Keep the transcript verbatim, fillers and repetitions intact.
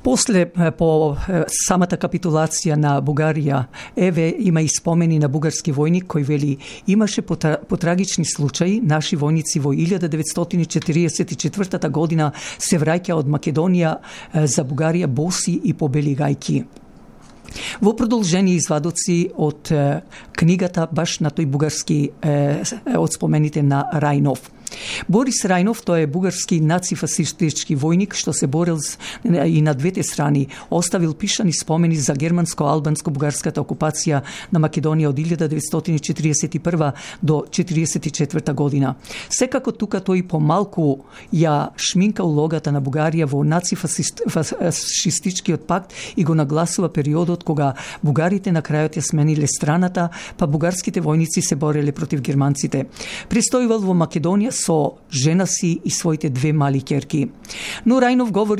После, по самата капитулација на Бугарија, еве има и спомени на бугарски војник кој вели: имаше потрагични случаи, наши војници во илјада деветстотини четириесет и четвртата година се враќа од Македонија за Бугарија боси и побели гајки. Во продолжение извадоци од е, книгата баш на тој бугарски е, од спомените на Рајнов. Борис Рајнов, тој е бугарски нацифашистички војник што се борил и на двете страни, оставил пишани спомени за германско-албанско-бугарската окупација на Македонија од илјада деветстотини четириесет и прва до четириесет и четврта година. Секако тука тој помалку ја шминка улогата на Бугарија во нацифашистичкиот пакт и го нагласува периодот кога бугарите на крајот ја смениле страната, па бугарските војници се бореле против германците. Престојувал во Македонија со жена си и своите две мали ќерки. Но Рајнов говори